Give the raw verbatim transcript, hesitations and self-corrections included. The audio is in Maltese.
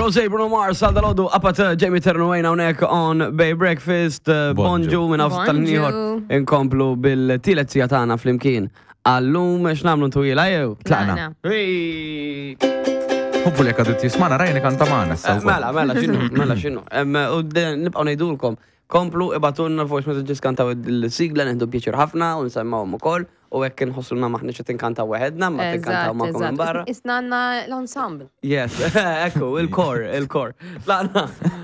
Rosé, Bruno Mars, għal dalgħodu, apat Jamie Ternuwejna hawnhekk on Bay Breakfast, uh, Bonġu. Bonġu minn Bonġu. tal-nieħor inkomplu bil-tielet siegħa tagħna flimkien. Għallum x'nagħmlu ntwila jew? Tlaqna. Hey! Hopefully jekk għadu tismana rajni kanta magħna issa Eh, wkoll. Mela, mela, x'inhu, mela, x'inhu. Em, U de- nibqgħu ngħidulkom, komplu ibagħtulna voice messages, kantaw il-sigla, nieħdu pjaċir ħafna u nsemmawhom ukoll u hekk inħossuna maħniex qed inkantaw weħedna, ma tinkantaw magħkom minn barra. Isna għandna l-ensemble. Yes, ekku, il-kor, il-kor. Tlaqna.